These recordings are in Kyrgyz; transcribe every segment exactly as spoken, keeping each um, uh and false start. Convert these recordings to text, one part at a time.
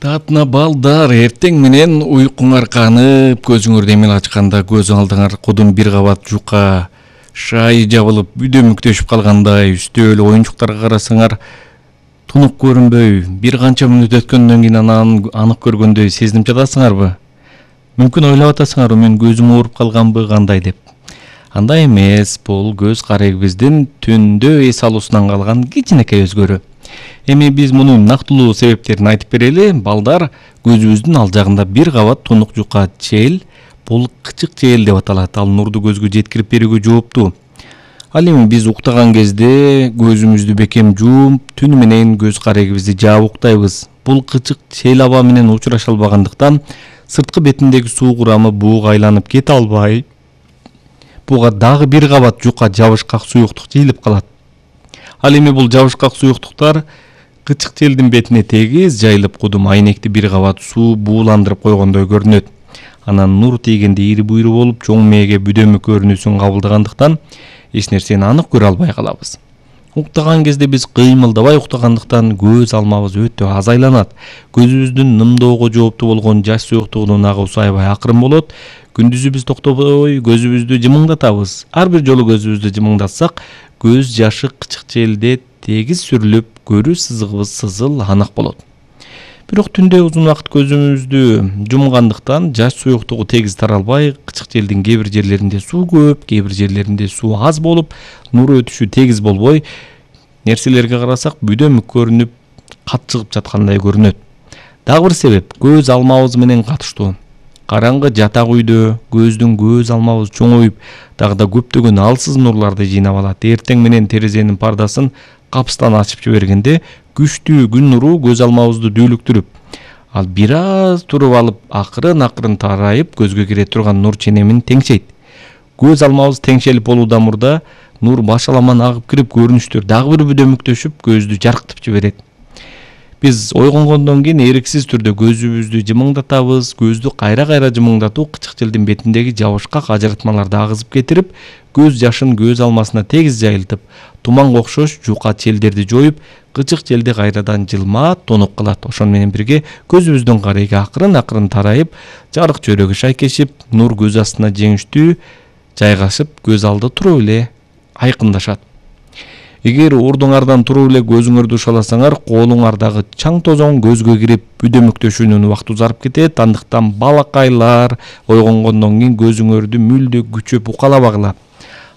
Татна балдар, эртең менен уйкуңар канып, көзүңөрдү эмел ачканда көз алдыңар кудум бир кабат жука, шай жабылып, бүдөмүктөшүп калгандай, үстөөл оюнчуктарга карасаңар тунук көрүнбөй, бир канча мүнөт өткөндөн кийин анан анык көргөндөй сезинип жатасыңарбы? Мүмкүн ойлоп атасыңарбы, мен көзүм ооруп калганбы кандай деп. Андай эмес, бул көз карегибиздин түндө эс алуусунан калган кичинекей өзгөрүү. Эми биз мунун нактылуу себептерин айтып берели. Балдар, көзүбүздүн ал жагында бир кабат тунук жука чел, бул кычык чел деп аталат. Ал нурду көзгө жеткирип берүүгө жооптуу. Ал эми биз уктаган кезде көзүмүздү бекем жууп, түнү менен көз карегибизди жаап уктайбыз. Бул кычык чел аба менен учураша албагандыктан сырткы бетиндеги суу курамы буга айланып кете албай, буга дагы бир кабат жука жабышкак суюктук жыйылып калат. Ал эми бул жабышкак суюктуктар кычык челдин бетине тегиз жайылып кудум айнекти бир кабат суу бууландырып койгондой көрүнөт. Анан нур тийгенде ири буйру болуп, чоң мээге бүдөмүк көрүнүүсүн кабылдагандыктан эч нерсени анык көрө албай калабыз. Уктаган кезде биз кыймылдабай уктагандыктан көз алмабыз өтө аз айланат. Көзүбүздүн нымдоого жооптуу болгон жаш суюктугунун агуусу аябай акырын болот. Күндүзү биз токтобой көзүбүздү жымыңдатабыз. Ар бир жолу көзүбүздү жымыңдатсак, көз жашы кычык челде тегиз сүрүлүп, көрүү сызыгыбыз сызыл анык болот. Бирок түндө узун убакыт көзүбүздү жумгандыктан жаш суюктугу тегиз таралбай, кычык челдин кээ бир жерлеринде суу көп, кээ бир жерлеринде суу аз болуп, нур өтүшү тегиз болбой, нерселерге карасак бүдөмүк көрүнүп, кат чыгып жаткандай көрүнөт. Дагы бир себеп көз алмабыз менен катыштуу. Караңгы жатак үйдө көздүн көз алмабыз чоңоюп, дагы да көптөгөн алсыз нурларды жыйнап алат. Эртең менен терезенин пардасын капыстан ачып жибергенде күчтүү күн нуру көз алмабызды дүүлүктүрүп, ал бир аз туруп алып, акырын-акырын тарайып көзгө кире турган нур ченемин теңшейт. Көз алмабыз теңшелип болуудан мурда нур башаламан агып кирип, көрүнүштөр дагы бир бүдөмүктөшүп, көздү жарктып жиберет. Биз ойгонгондон кийин эриксиз түрдө көзүбүздү жымыңдатабыз. Көздү кайра-кайра жымыңдатуу кычык челдин бетиндеги жабышкак ажыратмаларды агызып кетирип, көз жашын көз алмасына тегиз жайылтып, туманга окшош жука челдерди жоюп, кычык челди кайрадан жылмаат тонуп кылат. Ошону менен бирге көзүбүздүн кареги акырын-акырын тарайып, жарык чөйрөгү шайкешип, нур көз астына жеңиштүү жайгашып, көз алды туруп эле айкындашат. Эгер ордуңардан туруп эле көзүңөрдү ушаласаңар, колуңардагы чаң тозоң көзгө кирип, бүдөмүктөшүүнүн убакыты узарып кетет. Андыктан балакайлар ойгонгондон кийин көзүңөрдү мүлдө күчөп укалабагыла.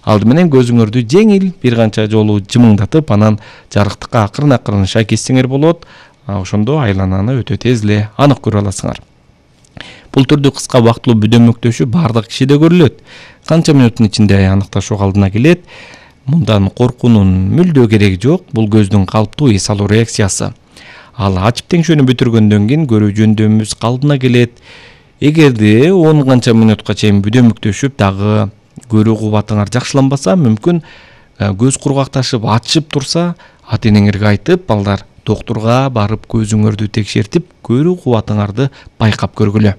Алды менен көзүңөрдү жеңил бир канча жолу жымыңдатып, анан жарыктыкка акырын-акырын шайкешсеңер болот. Ошондо айлананы өтө тез эле анык көрө аласыңар. Бул түрдүү кыска убактылуу бүдөмүктөшүү бардык кишиде көрүлөт. Канча мүнөттүн ичинде аныкташуу алдына келет. Мындан коркуунун мүлдө кереги жок. Бул көздүн калыптуу эс алуу реакциясы. Ал ачып теңшөөнү бүтүргөндөн кийин көрүү жөндөмүбүз калыбына келет. Эгерде он канча мүнөткө чейин бүдөмүктөшүп, дагы көрүү кубатыңар жакшыланбаса, мүмкүн көз кургакташып, ачышып турса, ата-энеңерге айтып, балдар доктурга барып көзүңөрдү текшертип, көрүү кубатыңарды байкап көргүлө.